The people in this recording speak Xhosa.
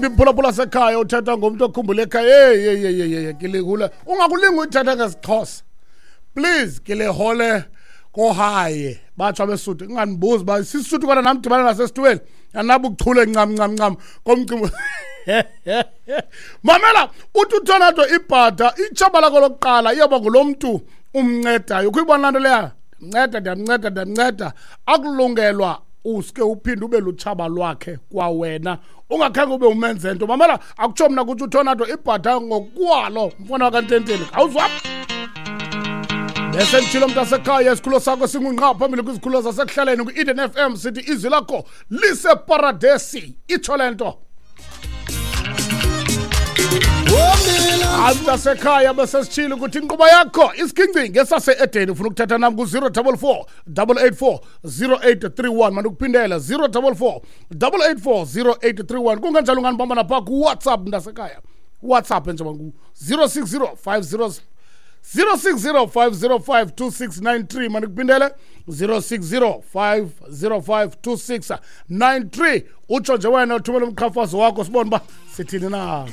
Iphulaphula sekhaya, uthetha ngomntu okhumbula ekhaya. Hey, hey, hey, hey, hey, kilihula ungakulinga uyithetha ngesiXhosa, please. Kilehole kohaye batsho abeSuthu. Ingandibuzi uba sisuthu kona nam dibana nasesitweni anabuchule ncam ncam ncam komcimbi. Mamela, uthi uTornado ibhada itshaba lakho lokuqala iyawuba ngulo mntu umncedayo. Ukuyibona laa nto leya, ndiyamnceda, ndiyamnceda, ndiyamnceda, akulungelwa uske uphinde ube lutshaba lwakhe kwawena ungakhange ube umenze nto. Mamela, akutsho mna, kutsho uTornado ibhada ngokwalo, mfana wakantenteni. Awuzwapha bese nditshilo, mntasekhaya, isikhululo sakho singungqa phambili kwizikhululo zasekuhlaleni kwi-Eden FM. Sithi izwi lakho liseparadesi, itsho le nto. Hayi, mntasekhaya, besesitshile ukuthi inkqubo yakho isigingcingi esase-Edeni. Ufuna ukuthetha nam ku-044 884 0831. Mandikuphindele, 044 884 0831. Kunganjalo unganibamba napha kuWhatsApp, mntasekhaya. WhatsApp njengoba ngu-060 50 060 505 2693. Mandikuphindele, 060 505 2693. Utsho nje wena, uthumele umqhafazo wakho, sibone uba sithini na.